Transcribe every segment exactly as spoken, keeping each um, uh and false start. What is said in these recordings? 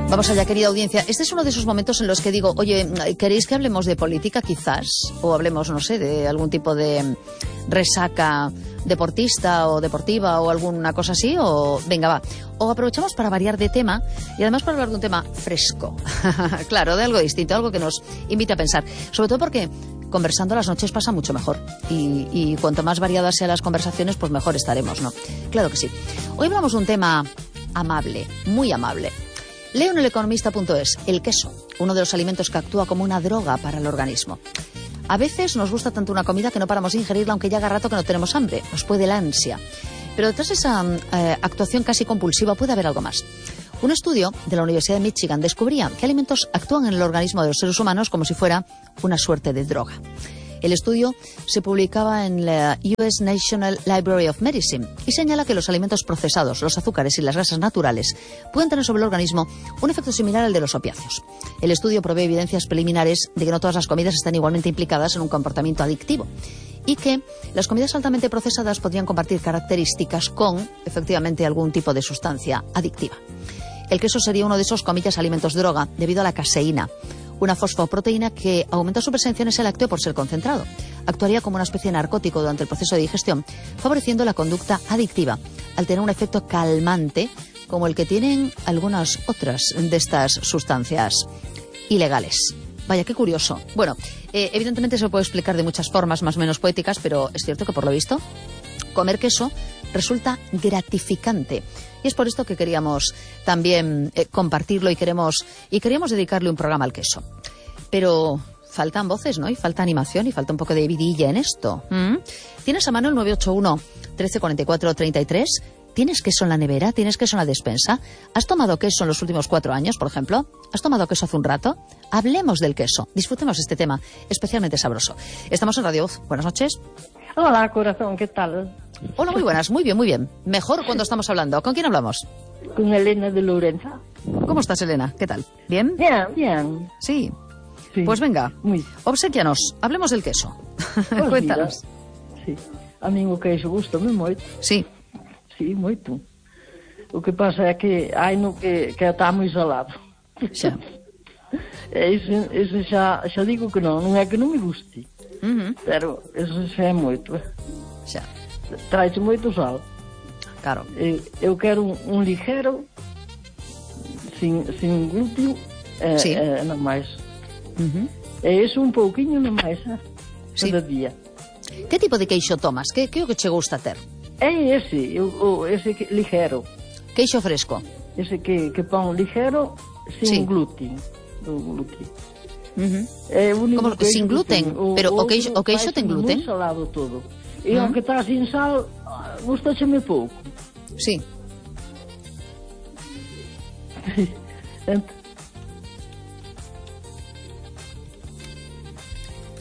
Vamos allá, querida audiencia. Este es uno de esos momentos en los que digo, oye, ¿queréis que hablemos de política quizás? O hablemos, no sé, de algún tipo de resaca deportista o deportiva o alguna cosa así, o venga, va. O aprovechamos para variar de tema y además para hablar de un tema fresco. Claro, de algo distinto, algo que nos invite a pensar. Sobre todo porque conversando las noches pasa mucho mejor. Y, y cuanto más variadas sean las conversaciones, pues mejor estaremos, ¿no? Claro que sí. Hoy hablamos de un tema amable, muy amable. Leo en el economista punto es, el queso, uno de los alimentos que actúa como una droga para el organismo. A veces nos gusta tanto una comida que no paramos de ingerirla, aunque ya haga rato que no tenemos hambre. Nos puede la ansia. Pero detrás de esa eh, actuación casi compulsiva puede haber algo más. Un estudio de la Universidad de Michigan descubría que alimentos actúan en el organismo de los seres humanos como si fuera una suerte de droga. El estudio se publicaba en la U S National Library of Medicine y señala que los alimentos procesados, los azúcares y las grasas naturales pueden tener sobre el organismo un efecto similar al de los opiáceos. El estudio provee evidencias preliminares de que no todas las comidas están igualmente implicadas en un comportamiento adictivo y que las comidas altamente procesadas podrían compartir características con, efectivamente, algún tipo de sustancia adictiva. El queso sería uno de esos, comillas, alimentos droga debido a la caseína, una fosfoproteína que aumenta su presencia en ese lácteo por ser concentrado. Actuaría como una especie de narcótico durante el proceso de digestión, favoreciendo la conducta adictiva, al tener un efecto calmante, como el que tienen algunas otras de estas sustancias ilegales. Vaya, qué curioso. Bueno, eh, evidentemente se puede explicar de muchas formas, más o menos poéticas, pero es cierto que por lo visto, comer queso resulta gratificante. Y es por esto que queríamos también eh, compartirlo y queremos y queríamos dedicarle un programa al queso. Pero faltan voces, ¿no? Y falta animación y falta un poco de vidilla en esto. ¿Mm? ¿Tienes a mano el nueve ocho uno, trece cuarenta y cuatro, treinta y tres? ¿Tienes queso en la nevera? ¿Tienes queso en la despensa? ¿Has tomado queso en los últimos cuatro años, por ejemplo? ¿Has tomado queso hace un rato? Hablemos del queso. Disfrutemos este tema especialmente sabroso. Estamos en Radio Voz. Buenas noches. Hola, corazón, ¿qué tal? Hola, muy buenas, muy bien, muy bien. Mejor cuando estamos hablando. ¿Con quién hablamos? Con Elena de Lorenza. ¿Cómo estás, Elena? ¿Qué tal? ¿Bien? Bien, bien. Sí. Sí. Pues venga, Muy. obsequianos, hablemos del queso. Pues Cuéntanos. Mira, sí. A mí o queixo gusta-me moito. Sí. Sí, moito. O que pasa é que hai no que, que está moi salado. Xa. Ese, ese xa, xa digo que non, non é que non me guste. Uh-huh. Pero ese xa é moito. Xa. Trae-se moito sal. Claro. Eh, Eu quero un, un ligero, sin, sin glúteo, eh, Sí. eh, non máis. Uh-huh. E iso un pouquiño non máis, eh, Sí. cada día. Que tipo de queixo tomas? Que, que é o que che gusta ter? É ese, o, o, ese que, ligero. Queixo fresco. Ese que, que pon ligero, sin Sí. glúten. O glúten. Uh-huh. É o único Como, queixo sin que gluten? teño. Pero o outro queixo- o queixo ten fai-se gluten? moi salado todo. E Ah. aunque está sin sal, gustaseme pouco. Sí. Ent-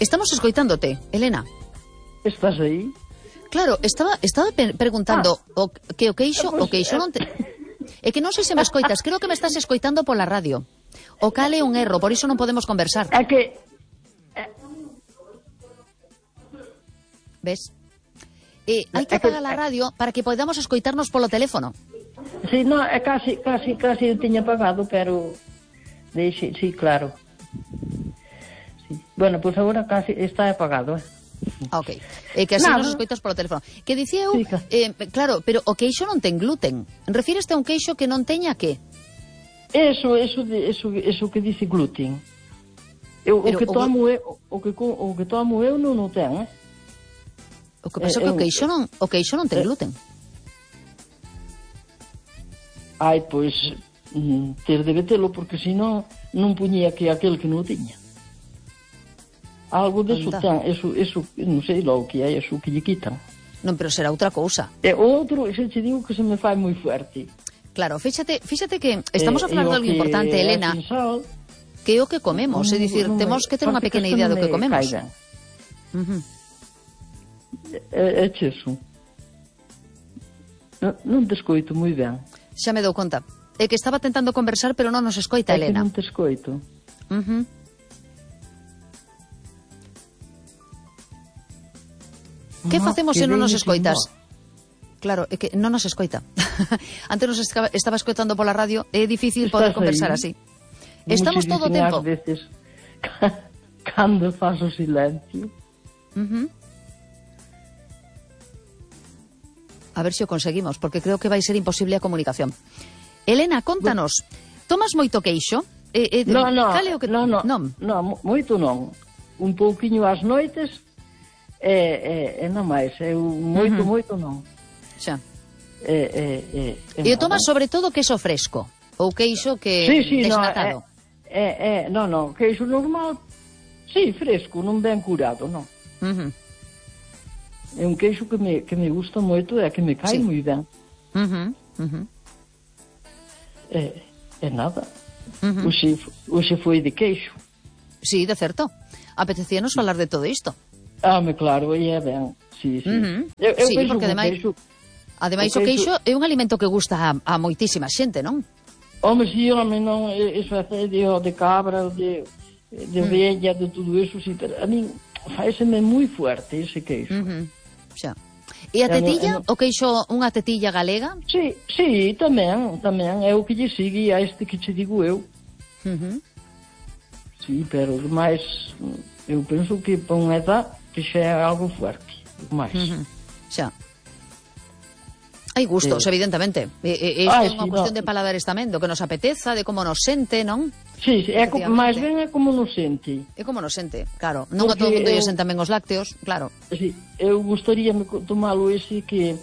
Estamos escoitándote, Elena. Estás aí? Claro, estaba estaba pe- preguntando Ah. o, que o queixo, Pois, o queixo non te... É que non sei se me escoitas, creo que me estás escoitando pola radio. O cale un erro, por iso non podemos conversar. É que... Ves? Eh, hai que É que- apagar a radio para que podamos escoitarnos polo teléfono. Sí, no, é casi, casi, casi eu tiña apagado, pero... Deixe, sí, claro. Sí. Bueno, pois pues agora casi está apagado, eh? Ah, ok. Eh, que así Nada. nos escoitas polo teléfono. Que dicía eu, Sí, claro. eh, claro, pero o queixo non ten gluten. Refíreste a un queixo que non teña que? Eso, eso, de- eso, eso que dice gluten. Eu, o Pero que o glu- tomo eu, o que co- o que tomo eu non o ten, eh? O que pasa é Eh, que o eu- queixo non, o queixo non ten Eh. gluten. Ai, pois mm, ter de telo porque senón non puñía que aquel que non o tiña. Algo de eso Anda. ten, eso, eso, non sei logo que é, eso que lle quitan. Non, pero será outra cousa. E o outro, se te digo que se me fai moi fuerte. Claro, fíxate, fíxate que estamos a Eh, falar e de o algo que importante, é Elena, sin sal, que é o que comemos, é non- dicir, non me- temos que ter unha parece pequena isto idea do non que me comemos. cai ben. Ujú. É, é cheso. Non, non te escoito moi ben. Xa me dou conta. É que estaba tentando conversar, pero non nos escoita, É que Elena. non te escoito. Ujú. Que Ah, facemos que se non nos veño sin escoitas? voz. Claro, é que non nos escoita. Antes nos estaba, estaba escoitando pola radio, é difícil poder conversar así. Estamos todo o tempo. Muchas veces, cando faz o silencio. Uh -huh. A ver se o conseguimos, porque creo que vai ser imposible a comunicación. Elena, contanos, tomas moito queixo? Eh, eh, no, no, o que... no, no, non, no, moito non. Un pouquiño ás noites, e, e, e non máis, eu moito, uh -huh. moito non. Xa. E, e, e, e o tomas sobre todo queixo fresco? Ou queixo que sí, sí, desnatado? No, é, é, no, no, queixo normal, sí, fresco, non ben curado, non. Uh -huh. É un queixo que me, que me gusta moito e que me cae sí. moi ben. Uh -huh. Uh -huh. É, é nada. Uh -huh. Oxe, oxe foi de queixo. Sí, de certo. Apetecíanos falar de todo isto. Ah, me claro, e é ben. Sí, sí. Uh -huh. eu, eu sí, porque ademais, queixo, ademais o queixo, queixo é un alimento que gusta a, a moitísima xente, non? Home, si, home, non, iso é de, de cabra, de, de mm. vella, de todo iso, si, pero a min faéseme moi fuerte ese queixo. Uh -huh. Xa. E a tetilla, no, no... o queixo, unha tetilla galega? Sí, sí, tamén, tamén, é o que lle sigue a este que che digo eu. Uh -huh. Sí, pero máis, eu penso que para unha edad que xa é algo fuerte, máis. Uh -huh. Xa. Hai gustos, eh. evidentemente. E, e, isto é unha sí, cuestión no. de paladares tamén, do que nos apeteza, de como nos sente, non? Sí, sí, é como, máis ben é como nos sente. É como nos sente, claro. Non a todo o mundo lle senten ben os lácteos, claro. Sí, eu gustaríame tomalo ese que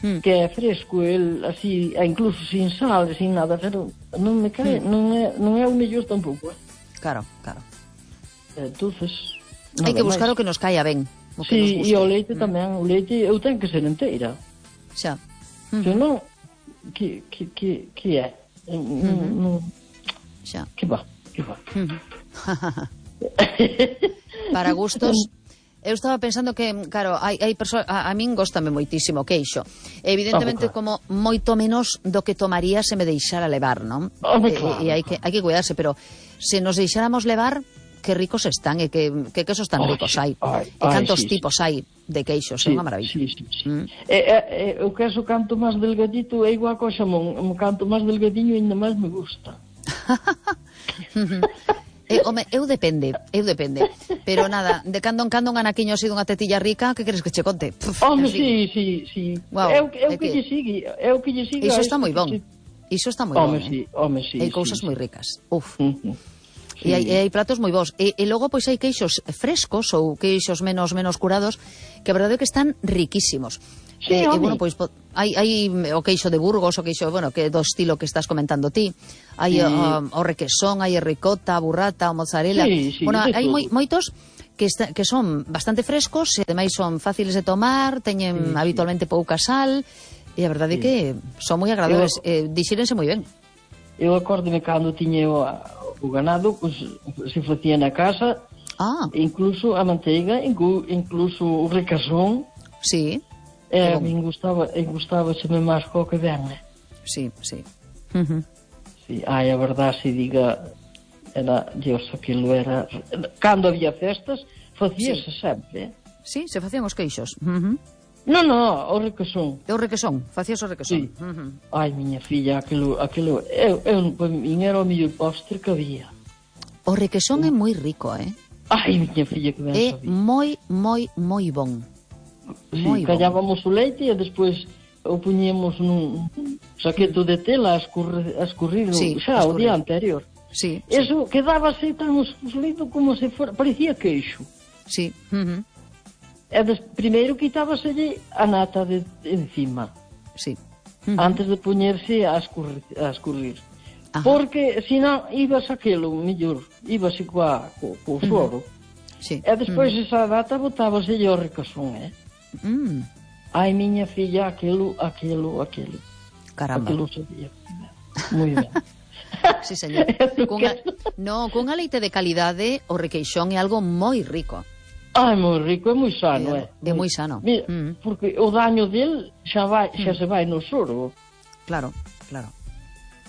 hmm. que é fresco, el así, incluso sin sal, sin nada, pero non me cae, hmm. non é non é o mellor tampouco. Eh? Claro, claro. Entonces, hai que buscar máis. O que nos caia ben. O que sí, nos e o leite hmm. tamén, o leite eu tenho que ser inteira. Xa. Uh -huh. Se non, que, que, que, que é? Uh -huh. No, xa. Que va, que va. Uh -huh. Para gustos, eu estaba pensando que, claro, hai, hai perso a, a min góstame moitísimo o queixo. Evidentemente, ah, como moito menos do que tomaría se me deixara levar, non? Ah, claro, e, e hai que, hai que cuidarse, pero se nos deixáramos levar, que ricos están e que, que quesos tan ricos hai. Ai, e cantos ai, sí, tipos sí. hai de queixos, sí, é unha maravilla. Sí, sí, sí. Mm. E, e, o queso canto máis delgadito é igual co xamón. O canto máis delgadinho ainda máis me gusta. eh, home, eu depende, eu depende. Pero nada, de cando en cando un anaquiño así dunha tetilla rica, que queres que che conte? Puf, home, sí, sí, sí. Wow, é o que, que lle sigue, é o que lle sigue. Iso está moi bon. Iso está moi home, bon. Sí, eh? home, sí, hai cousas sí, moi sí. ricas. Uf. Uh -huh. Sí. E, hai, e hai platos moi bons. E, e logo, pois, hai queixos frescos ou queixos menos menos curados que a verdade é que están riquísimos. Sí, e, e, bueno, pois, hai, hai o queixo de Burgos, o queixo, bueno, que do estilo que estás comentando ti. Hai sí. o, o requesón, hai a ricota, a burrata, o mozzarella. Sí, sí, bueno, hai moi, moitos que, está, que son bastante frescos e ademais son fáciles de tomar, teñen sí, habitualmente sí. pouca sal e a verdade é sí. que son moi agradables, eh, dixírense moi ben. Eu acórdome cando tiña o, o ganado, pues, se facía na casa, ah. incluso a manteiga, incluso o recasón. Sí. E a min gustaba, e gustaba xeme máis co que ven, eh? Sí, sí. Uh -huh. Sí, ai, a verdade se diga, era, Dios, aquilo era... Cando había festas, facíase sí. sempre, eh? Sí, se facían os queixos. Uh -huh. No, no, o requesón. O requesón, facías o requesón. Sí. Uh -huh. Ai, miña filla, aquilo, aquilo, eu, eu, para min era o mellor postre que había. O requesón uh. é moi rico, eh? Ai, miña filla, que ben é sabía. É moi, moi, moi bon. Sí, moi callábamos bon. O leite e despois o puñíamos nun saqueto de tela a escurrir, a escurrir sí, xa escurrir. o día anterior. Sí, eso sí. Quedábase tan escurrido como se for, parecía queixo. Sí. Uh -huh. E des, primeiro quitábaselle a nata de, de encima. Sí. Uh -huh. Antes de poñerse a escurrir. A escurrir. Ajá. Porque, senón, ibas aquelo, mellor, ibase coa, co, co soro. Uh -huh. Sí. E despois uh -huh. esa data botábaselle o recasón, eh? Mm. Ai, miña filla, aquilo, aquilo, aquilo. Caramba. Aquilo sabía. Moi ben. Sí, señor. Cunha, no, cunha leite de calidade, o requeixón é algo moi rico. Ai, moi rico, é moi sano, é. É, é moi sano. Mira, mm. porque o daño del xa vai, xa mm. se vai no soro. Claro, claro.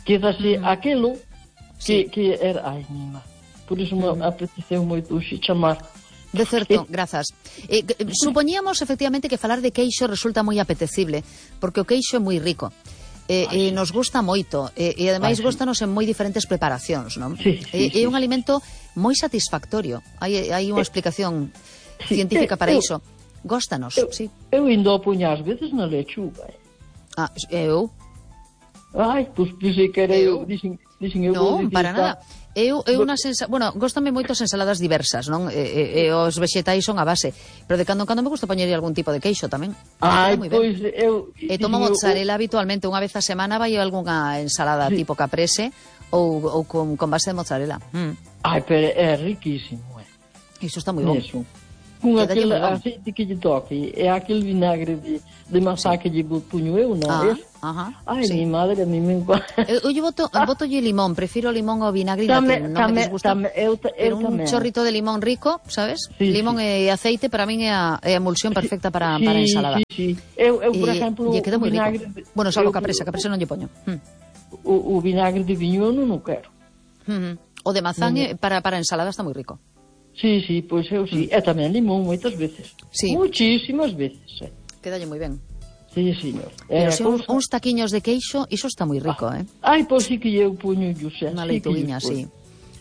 Quedase mm. aquilo que, sí. que era... Ai, mima. Por iso me mm. apeteceu moito xe chamar De certo, grazas. Eh, supoñíamos, efectivamente, que falar de queixo resulta moi apetecible, porque o queixo é moi rico. E eh, eh, nos gusta moito, e eh, ademais sí. Góstanos en moi diferentes preparacións, non? Sí, sí, é, sí, é un sí. alimento moi satisfactorio. Hai, hai unha explicación sí, científica para eu, iso. Góstanos, eu, sí. Eu indo a puñar ás veces na lechuga. Eh. Ah, eu? Ai, pois pues, dixen que era eu, dixen, dixen eu non, para nada. Eu, eu unha sensa... Bueno, góstame moito as ensaladas diversas, non? E, e, e os vexetais son a base. Pero de cando en cando me gusta poñer algún tipo de queixo tamén. Ai, pois eu... E tomo mozzarella eu... habitualmente. Unha vez a semana vai algunha ensalada sí. tipo caprese ou, ou con, con base de mozzarella. Mm. Ai, pero é riquísimo, eh. Iso está moi bom. Eso. Con aquel aceite que lle toque, é aquel vinagre de, de masá que lle puño eu, non ah, é? Ajá, ai, sí. mi madre, a mí me encanta. Eu, eu boto, ah. boto lle limón, prefiro limón ao vinagre, tame, non tame, me disgusta. Tame, eu, eu pero un tamén. chorrito de limón rico, sabes? Sí, limón sí. e aceite para min é a, é a emulsión perfecta para, sí, para ensalada. Sí, sí. Eu, eu por e, exemplo, e queda moi vinagre... rico. Bueno, salvo caprese, caprese non lle poño. Hm. O, o vinagre de viño non o quero. Mm -hmm. O de mazán no, para, para ensalada está moi rico. Sí, sí, pois eu sí. Mm. E tamén limón moitas veces. Sí. Muchísimas veces. Eh. Quedalle moi ben. Sí, señor. Pero eh, se uns, uns taquiños de queixo, iso está moi rico, ah. eh? Ai, pois sí que eu puño José. Unha leituguiña, sí.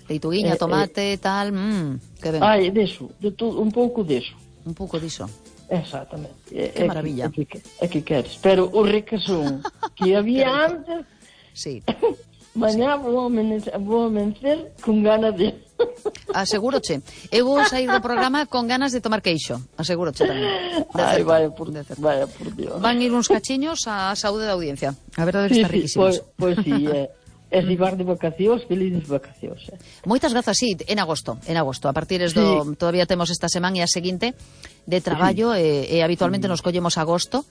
Leituguiña, eh, tomate, eh, tal, mmm, que ben. Ai, deso, de todo, un pouco deso. Un pouco diso. Exactamente. Que é maravilla. Que, é, que, é que queres. Pero o requesón que había antes... Sí. Mañá vou amencer, vou amencer con ganas de... Asegúroche. Eu vou sair do programa con ganas de tomar queixo. Asegúroche tamén. Ai, vaya por, vaya por Dios. Van ir uns cachiños á saúde da audiencia. A verdade que sí, está riquísimos. Sí, pois pues, pues, sí, é. Eh. Es llevar de vacacións, felices vacacións. Eh. Moitas grazas, sí, en agosto, en agosto. A partir do, sí. Todavía temos esta semana e a seguinte de traballo, sí. e, e habitualmente sí. Nos collemos agosto.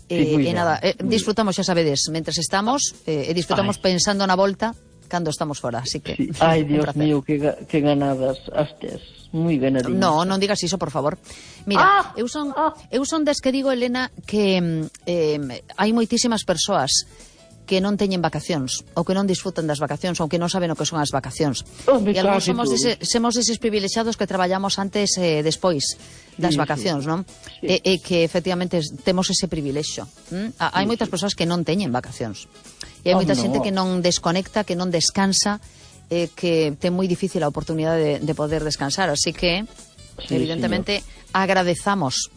Sí, eh, e nada, eh, disfrutamos, xa sabedes, mentres estamos, eh, e disfrutamos Ay. Pensando na volta cando estamos fora, así que... Sí. Ai, Dios mío, que, que ganadas as tes, moi ganadinas. No, non digas iso, por favor. Mira, ah, eu son ah. eu son des que digo, Elena, que eh, hai moitísimas persoas que non teñen vacacións, ou que non disfrutan das vacacións, ou que non saben o que son as vacacións. Oh, e algúns somos, dese, somos deses privilexiados que traballamos antes e eh, despois das sí, vacacións, sí. Non? Sí. E, e que efectivamente temos ese privilexio. ¿Mm? Hai sí, moitas sí. Persoas que non teñen vacacións. E hai oh, moita no. Xente que non desconecta, que non descansa, eh, que ten moi difícil a oportunidade de, de poder descansar. Así que, sí, evidentemente, señor. Agradezamos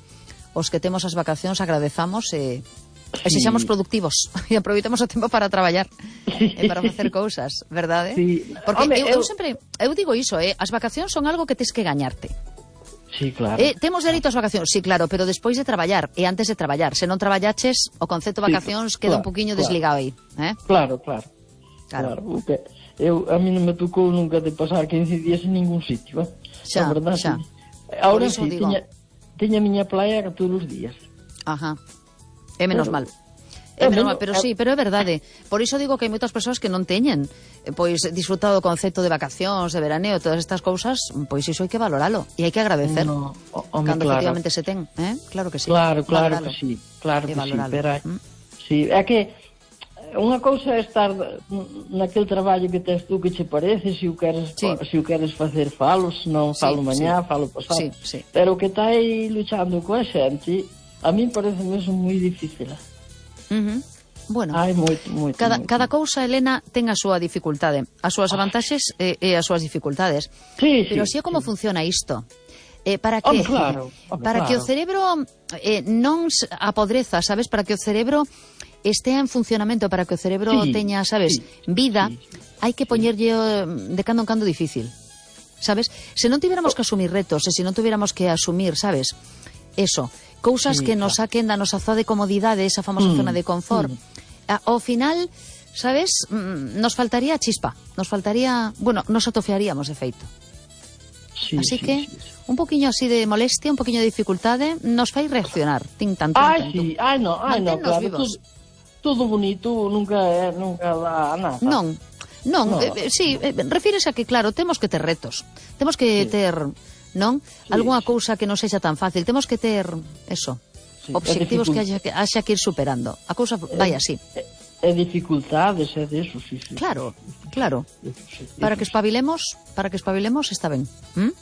os que temos as vacacións, agradezamos e... Sí. E sexamos productivos e aproveitemos o tempo para traballar e para facer cousas, verdade? Sí. Porque Home, eu, eu eu sempre eu digo iso, eh, as vacacións son algo que tes que gañarte. Sí, claro. Eh, temos dereito ás vacacións, sí, claro, pero despois de traballar e antes de traballar. Se non traballaches, o concepto vacacións sí, queda claro, un poquinho claro. Desligado aí, eh? Claro, claro. Claro. claro. Okay. Eu a mí non me tocou nunca de pasar quince días en ningún sitio, eh? Xa, verdad, xa. Sí. Ahora sí, teña, teña miña playa todos os días. Ajá. É menos pero, mal. É menos mal, pero sí, pero é verdade. Por iso digo que hai moitas persoas que non teñen pois disfrutado o concepto de vacacións, de veraneo, todas estas cousas, pois iso hai que valoralo e hai que agradecer. No, home, cando claro. Efectivamente se ten, eh? Claro que sí. Claro, claro valoralo. que sí. Claro que sí, pero ¿Mm? sí, é que unha cousa é estar naquele traballo que tes tú que che parece, se o queres, sí. se o queres facer falo, se non falo sí, mañá, sí. Falo pasado. Sí, sí. Pero o que está aí luchando coa xente, a mí parece mesmo moi difícil. Uh -huh. Bueno, Ai, moito, moito, cada, moito. cada cousa, Elena, ten a súa dificultade, as súas vantaxes e, e as súas dificultades. Sí, pero sí, así é como sí. funciona isto. Eh, para que, oh, claro, oh, para claro. que o cerebro eh, non apodreza, sabes? Para que o cerebro estea en funcionamento, para que o cerebro sí, teña, sabes, sí, vida, sí, hai que poñerlle de cando en cando difícil. Sabes? Se non tiveramos que asumir retos, e se non tuviéramos que asumir, sabes? Eso, cousas sí, que nos saquen da nosa zona de comodidade, esa famosa mm, zona de confort. Mm. Ao final, sabes, nos faltaría chispa, nos faltaría, bueno, nos atofiaríamos de feito. Sí, así sí, que, sí, sí. un poquinho así de molestia, un poquinho de dificultade, nos fai reaccionar. Tin tanto, Ai, tanto. sí, ai, no, ai, no, claro, vivos. Todo, todo bonito nunca é, nunca dá nada. Non, non, no. eh, sí, eh, refírese a que, claro, temos que ter retos, temos que sí. ter, non? Sí, algunha sí. cousa que non sexa tan fácil, temos que ter, eso, sí, obxectivos que haxa, que haxa que ir superando. A cousa vai así. e dificultades e deso, sí, sí. Claro, claro. Eso, sí, para eso, que espabilemos, para que espabilemos está ben. ¿Mm?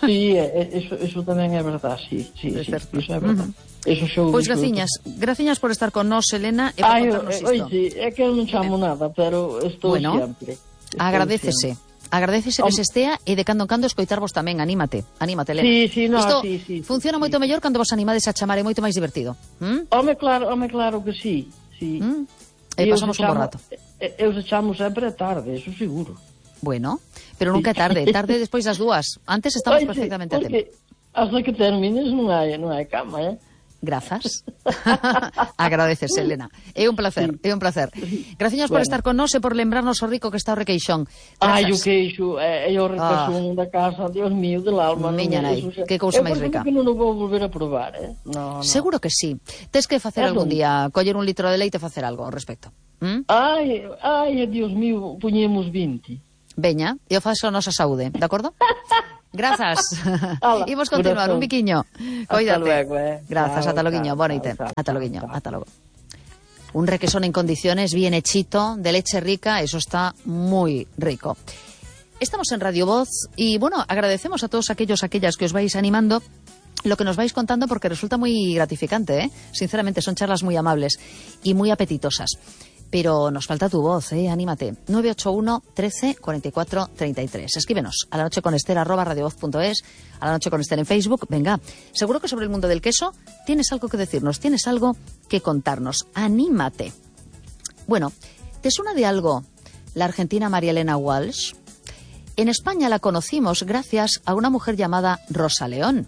Sí, eso, eso tamén é verdad, sí, sí, É sí, certo. eso é verdad. Uh-huh. Eso xo Pois graciñas, graciñas por estar con nós, Elena, e por Ai, contarnos isto. Oi, sí, é que eu non chamo nada, pero estou bueno, sempre. Estou agradécese. sempre. Agradécese que se estea e de cando en cando escoitarvos tamén, anímate, anímate, Elena. Sí, sí, no, isto sí, sí, funciona sí, moito sí. mellor cando vos animades a chamar, é moito máis divertido. ¿Mm? Home, claro, home, claro que sí, sí. ¿Mm? E pasamos un bo rato. Eu se chamo sempre tarde, eso seguro. Bueno, pero nunca é tarde, tarde despois das dúas. Antes estamos Oye, perfectamente a tempo. Porque hasta que termines non hai, non hai cama, eh? Grazas. Agradeces, Elena. É un placer, sí. é un placer. Graciñas bueno. por estar con nós e por lembrarnos o rico que está o requeixón. Ai, o queixo, é, é o requeixón ah. da casa, Dios mío, del alma. Miña nai, eso, que cousa máis rica. Eu que non o vou volver a probar, eh? No, no. Seguro que sí. Tes que facer eso. algún día, coller un litro de leite e facer algo ao respecto. ¿Mm? Ai, ai, Dios mío, puñemos vinte. Veña, eu faço a nosa saúde, de acordo? Grazas. Imos continuar, un biquiño. Coídate. Luego, eh. Grazas, ata loguiño. Boa noite. Ata loguiño, ata logo. Un requesón en condiciones, bien hechito, de leche rica, eso está muy rico. Estamos en Radio Voz y, bueno, agradecemos a todos aquellos, aquellas que os vais animando lo que nos vais contando porque resulta muy gratificante, ¿eh? Sinceramente, son charlas muy amables y muy apetitosas. Pero nos falta tu voz, ¿eh? Anímate. nueve ocho uno, trece, cuarenta y cuatro, treinta y tres. Escríbenos a la noche con Esther arroba radiovoz punto es, a la noche con Esther en Facebook. Venga, seguro que sobre el mundo del queso tienes algo que decirnos, tienes algo que contarnos. Anímate. Bueno, ¿te suena de algo la argentina María Elena Walsh? En España la conocimos gracias a una mujer llamada Rosa León,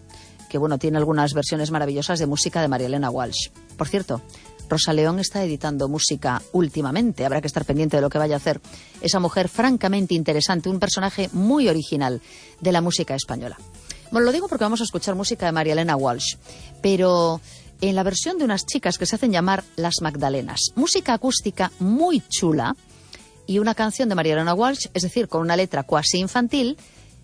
que bueno, tiene algunas versiones maravillosas de música de María Elena Walsh. Por cierto, Rosa León está editando música últimamente, habrá que estar pendiente de lo que vaya a hacer esa mujer francamente interesante, un personaje muy original de la música española. Bueno, lo digo porque vamos a escuchar música de María Elena Walsh, pero en la versión de unas chicas que se hacen llamar Las Magdalenas. Música acústica muy chula y una canción de María Elena Walsh, es decir, con una letra cuasi infantil,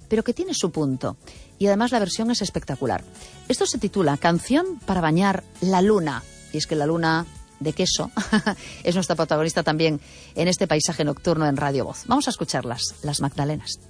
pero que tiene su punto. Y además la versión es espectacular. Esto se titula Canción para bañar la luna. Y es que la luna de queso es nuestra protagonista también en este paisaje nocturno en Radio Voz. Vamos a escucharlas, Las Magdalenas.